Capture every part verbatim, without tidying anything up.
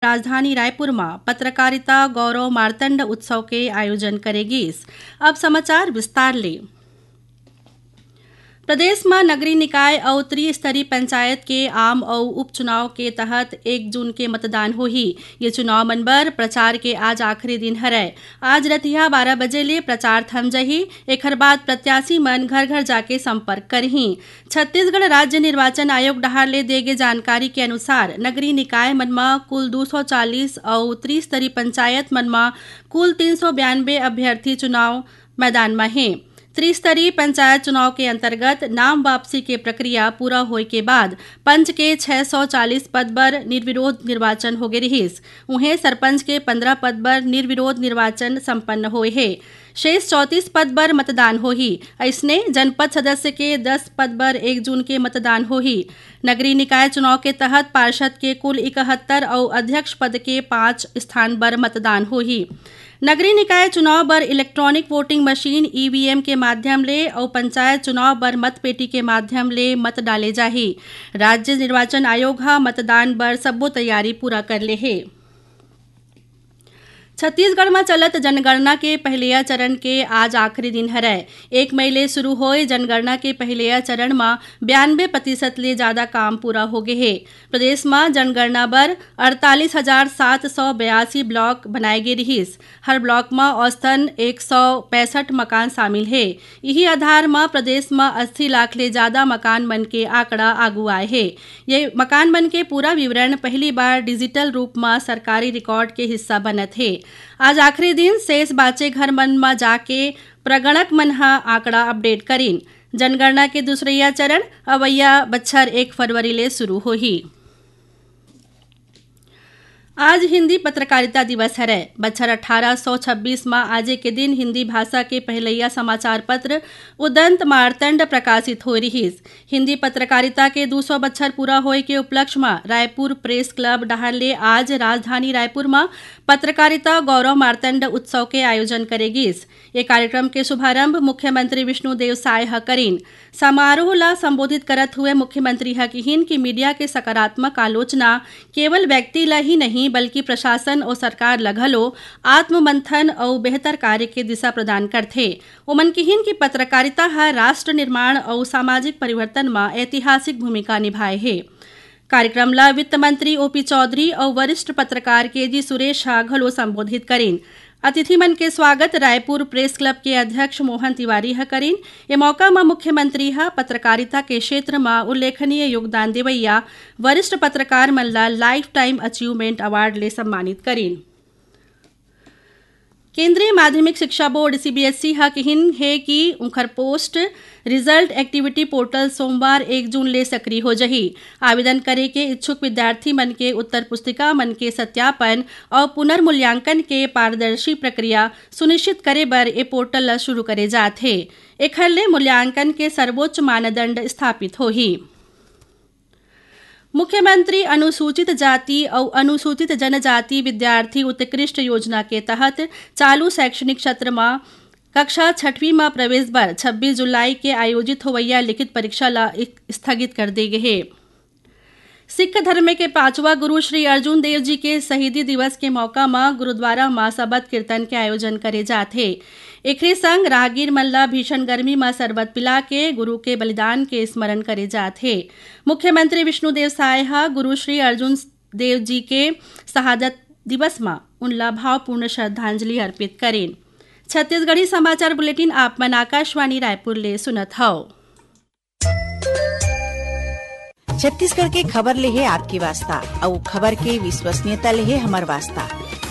राजधानी रायपुर म पत्रकारिता गौरव मार्तंड उत्सव के आयोजन करे गिस। अब समाचार विस्तार ले। प्रदेश म नगरीय निकाय अउ त्रिस्तरीय पंचायत के आम अउ उपचुनाव के तहत एक जून के मतदान होही। ये चुनाव मन बर प्रचार के आज आखिरी दिन हरय। आज रतिहा बारह बजे ले प्रचार थम जही। एखर बाद प्रत्याशी मन घर-घर जाके संपर्क करही। छत्तीसगढ़ राज्य निर्वाचन आयोग डहार ले दे गे जानकारी के अनुसार, नगरीय निकाय मन म कुल दू सौ चालीस अउ त्रिस्तरीय पंचायत मन म कुल तीन सौ बयानबे अभ्यर्थी चुनाव मैदान म हे। त्रिस्तरीय पंचायत चुनाव के अंतर्गत नाम वापसी के प्रक्रिया पूरा होए के बाद पंच के छह सौ चालीस पद बर निर्विरोध निर्वाचन होगे रिहिस। उहें, सरपंच के पंद्रह पद बर निर्विरोध निर्वाचन संपन्न होए हे। शेष चौंतीस पद बर मतदान होही। अइसने, जनपद सदस्य के दस पद बर एक जून के मतदान होही। नगरीय निकाय चुनाव के तहत पार्षद के कुल इकहत्तर अउ अध्यक्ष पद के पाँच स्थान बर मतदान होही। नगरीय निकाय चुनाव बर इलेक्ट्रॉनिक वोटिंग मशीन, ईवीएम, के माध्यम ले अउ पंचायत चुनाव बर मतपेटी के माध्यम ले मत डाले जाही। राज्य निर्वाचन आयोग ह मतदान बर सब्बो तैयारी पूरा कर ले हे। छत्तीसगढ़ म चलत जनगणना के पहिलइया चरण के आज आखिरी दिन हरय। एक मई ले शुरू होए जनगणना के पहिलइया चरण म बयानबे प्रतिशत ले जादा काम पूरा होगे हे। प्रदेश म जनगणना बर अड़तालीस हजार सात सौ बयासी ब्लॉक बनाए गे रिहिस। हर ब्लॉक म औसतन एक सौ पैंसठ मकान शामिल हे। इही आधार म प्रदेश म अस्सी लाख ले जादा मकान मन के आंकड़ा आगू आए हे। ये मकान मन के पूरा विवरण पहली बार डिजिटल रूप म सरकारी रिकॉर्ड के हिस्सा बनत हे। आज आखिरी दिन, शेष बांचे घर मन म जाके प्रगणक मन ह आंकड़ा अपडेट करिन। जनगणना के दूसरइया चरण अवइया बछर एक फरवरी ले शुरू होही। आज हिंदी पत्रकारिता दिवस हरय। बछर अठारह सौ छब्बीस म आजे के दिन हिंदी भाषा के पहिलइया समाचार पत्र उदंत मार्तंड प्रकाशित होय रिहिस। हिंदी पत्रकारिता के दू सौ बछर पूरा होए के उपलक्ष्य म रायपुर प्रेस क्लब डहार ले आज राजधानी रायपुर म पत्रकारिता गौरव मार्तंड उत्सव के आयोजन करे गिस। ये कार्यक्रम के शुभारंभ मुख्यमंत्री विष्णुदेव साय ह करिन। समारोह ला संबोधित करत हुए मुख्यमंत्री ह किहिन कि मीडिया के सकारात्मक आलोचना केवल व्यक्ति ला ही नहीं, बल्कि प्रशासन अउ सरकार ला घलो आत्ममंथन अउ बेहतर कार्य के दिशा प्रदान करथे। ओमन किहिन कि पत्रकारिता ह राष्ट्र निर्माण अउ सामाजिक परिवर्तन म ऐतिहासिक भूमिका निभाए हे। कार्यक्रम ला वित्त मंत्री ओपी चौधरी अउ वरिष्ठ पत्रकार केजी सुरेश ह घलो संबोधित करिन। अतिथि मन के स्वागत रायपुर प्रेस क्लब के अध्यक्ष मोहन तिवारी ह करिन। ए मौका म मुख्यमंत्री ह पत्रकारिता के क्षेत्र म उल्लेखनीय योगदान देवइया वरिष्ठ पत्रकार मन ला लाइफ टाइम अचीवमेंट अवार्ड ले सम्मानित करिन। केंद्रीय माध्यमिक शिक्षा बोर्ड, सीबीएसई, ह किहिन हे कि उंखर पोस्ट रिजल्ट एक्टिविटी पोर्टल सोमवार एक जून ले सक्रिय हो जही। आवेदन करे के इच्छुक विद्यार्थी मन के उत्तर पुस्तिका मन के सत्यापन अउ पुनर्मूल्यांकन के पारदर्शी प्रक्रिया सुनिश्चित करे बर ए पोर्टल ल शुरू करे जात हे। एखर ले मूल्यांकन के सर्वोच्च मानदंड स्थापित होही। मुख्यमंत्री अनुसूचित जाति अउ अनुसूचित जनजाति विद्यार्थी उत्कृष्ट योजना के तहत चालू शैक्षणिक सत्र म कक्षा छठवीं म प्रवेश बर छब्बीस जुलाई के आयोजित होवइया लिखित परीक्षा ल इक-, स्थगित कर दे गे हे। सिख धर्म के पांचवा गुरु श्री अर्जुन देव जी के शहीदी दिवस के मौका म गुरुद्वारा म सबद कीर्तन के आयोजन करे जात हे। एखरे संग राहगीर मन ल भीषण गर्मी म शरबत पिला के गुरु के बलिदान के स्मरण करे जात हे। मुख्यमंत्री विष्णुदेव साय ह गुरु श्री अर्जुन देव जी के शहादत दिवस म उनला भावपूर्ण श्रद्धांजलि अर्पित करेन। छत्तीसगढ़ी समाचार बुलेटिन आप मन आकाशवाणी रायपुर ले सुनत हव। छत्तीसगढ़ के खबर ले हे आपके वास्ता, अउ खबर के विश्वसनीयता ले हे हमर वास्ता।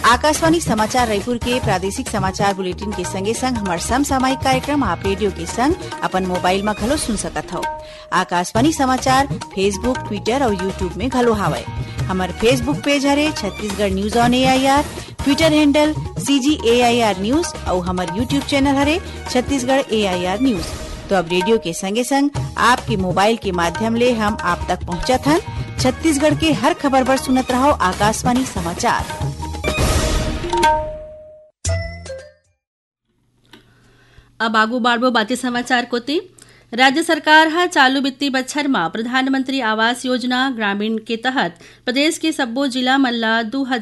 आकाशवाणी समाचार रायपुर के प्रादेशिक समाचार बुलेटिन के संगे संग हमर समसामयिक कार्यक्रम आप रेडियो के संग अपन मोबाइल म घलो सुन सकत हव। आकाशवाणी समाचार Facebook, Twitter अउ YouTube में घलो हावय। हमर Facebook पेज हरे Chhattisgarh news on AIR, Twitter handle CG AIR news अउ हमर YouTube चैनल हरे छत्तीसगढ़ एआईआर न्यूज। तो अब रेडियो के संगे संग आपके मोबाइल के माध्यम ले हम आप तक पहुंचत हन। छत्तीसगढ़ के हर खबर बर सुनत रहव आकाशवाणी समाचार। अब आगू बाढ़बो बाकी समाचार कोति। राज्य सरकार ह चालू वित्तीय बछर म प्रधानमंत्री आवास योजना ग्रामीण के तहत प्रदेश के सब्बो जिला मन ल दू हजार